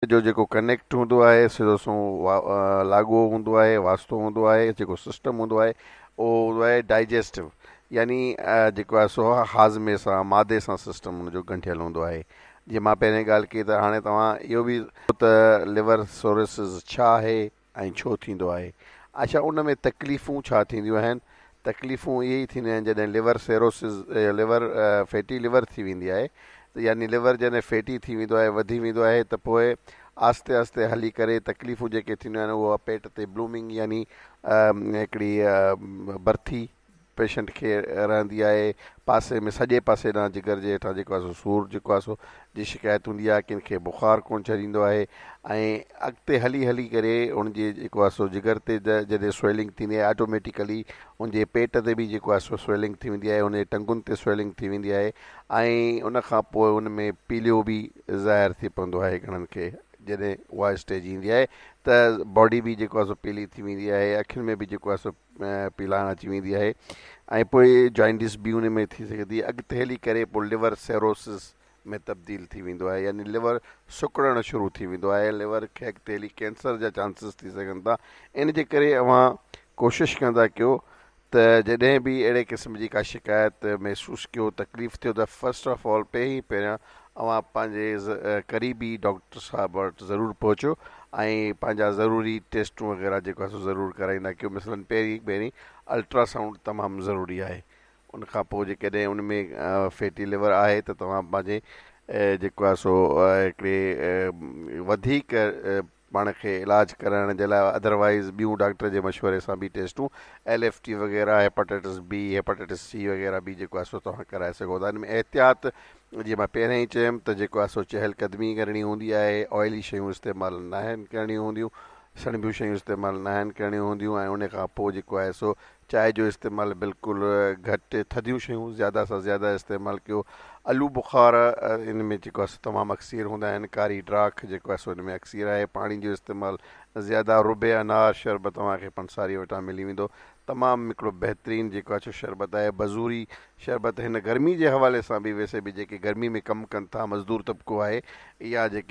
جو جيڪو ڪنيڪٽ هوندو آهي سڌو سنئون لاڳو هوندو آهي واسطو هوندو آهي جيڪو سسٽم هوندو آهي اهو هوندو آهي ڊائجسٽو يعني جيڪو آهي سو هاضمي سان معدي سان سسٽم ان جو ڳنڍيل هوندو آهي جيئن مان پهرين ڳالهه ڪئي ته هاڻي توهان اهو به ته ليور سروسز ڇا آهي ۽ ڇو ٿيندو آهي؟ اڇا ان ۾ تڪليفون ڇا ٿينديون آهن؟ تڪليفون اهي ئي ٿينديون آهن جڏهن ليور سيروسز ليور فيٽي ليور ٿي ويندي آهي ته يعني ليور جڏهن فيٽي ٿي ويندو آهي وڌي ويندو آهي ته پوء آهستي آهستي هلي ڪري تڪليفون جيڪي ٿينديون آهن اهو پيٽ تي بلومنگ يعني هڪڙي برٿي پيشنٽ کي رهندي آهي پاسي ۾ سڄي پاسي ڏانهن جگر جي هيٺان جيڪو آهي سو سور جيڪو آهي سو جي شڪايت هوندي آهي ڪن کي بخار ڪونه ڇڏيندو آهي ۽ اڳتي هلي هلي ڪري ان جي جيڪو آهي سو جگر تي جڏهن سويلنگ ٿيندي آهي آٽوميٽيڪلي ان جي پيٽ تي به جيڪو آهي سو سويلنگ ٿي ويندي آهي ان جي ٽنگن تي سويلنگ ٿي ويندي آهي ۽ ان کان پوء ان ۾ پيليو به ظاهر ٿي پوندو آهي گهڻن کي جڏهن اها اسٽيج ايندي آهي ته باڊي به جيڪو آهي سو پيلي ٿي ويندي آهي اکين ۾ به جيڪو آهي سو پيلاڻ اچي ويندي آهي ۽ پوء جوائنڊس به ان ۾ ٿي سگهي ٿي اڳتي هلي ڪري پوء ليور سيروسس ۾ تبديل ٿي ويندو آهي يعني ليور سڪڙڻ شروع ٿي ويندو آهي ليور کي اڳتي هلي ڪينسر جا چانسز ٿي سگهن ٿا ان جي ڪري اوهان ڪوشش ڪندا ڪيو ته جڏهن به اهڙي قسم جي ڪا شڪايت محسوس ڪيو تڪليف ٿيو ته فرسٽ آف آل پهرين پهريان اوهان پنهنجي قريبي ڊاڪٽر صاحب وٽ ضرور پهچو ۽ پنهنجا ضروري ٽيسٽون وغيره جيڪو آهي سو ضرور ڪرائيندا ڪيو مثلاً پهرين پهرين الٽرا سائونڊ تمام ضروري آهي ان کان پوء جيڪڏهن ان ۾ فيٽي ليور آهي ته توهان پنهنجي جيڪو آهي سو هڪڙي وڌيڪ پاڻ کي علاج ڪرائڻ جي لاء ادروائيز ٻيون ڊاڪٽر جي مشوري سان به ٽيسٽون ايل ايف ٽي وغيره هيپاٽائٽس بي هيپاٽائٽس سي وغيره به جيڪو آهي سو توهان ڪرائي سگهو ٿا ان ۾ احتياط جيئن مان پهريان ئي چيم ته جيڪو آهي سو چهل قدمي ڪرڻي هوندي آهي آئلي شيون استعمال ناهن ڪرڻيون هونديون سڻڀيون شيون استعمال ناهن ڪرڻيون هونديون ۽ ان کان پوء جيڪو آهي سو چانهه جو استعمال بلڪل گهٽ، ٿڌيون شيون زياده سان زياده استعمال ڪيو. آلو بخارا ان ۾ جيڪو آهي سو تمام اڪثير هوندا آهن. ڪاري ڊاک جيڪو آهي سو ان ۾ اڪثير آهي. پاڻي جو استعمال زياده رب انار شربت اوهان کي پنساري وٽان ملي ويندو. تمام هڪڙو بهترين جيڪو آهي سو شربت آهي. بزوري شربت هن گرمي جي حوالي سان به ويسي به جيڪي گرمي ۾ ڪم ڪن ٿا مزدور طبقو آهي يا جيڪي.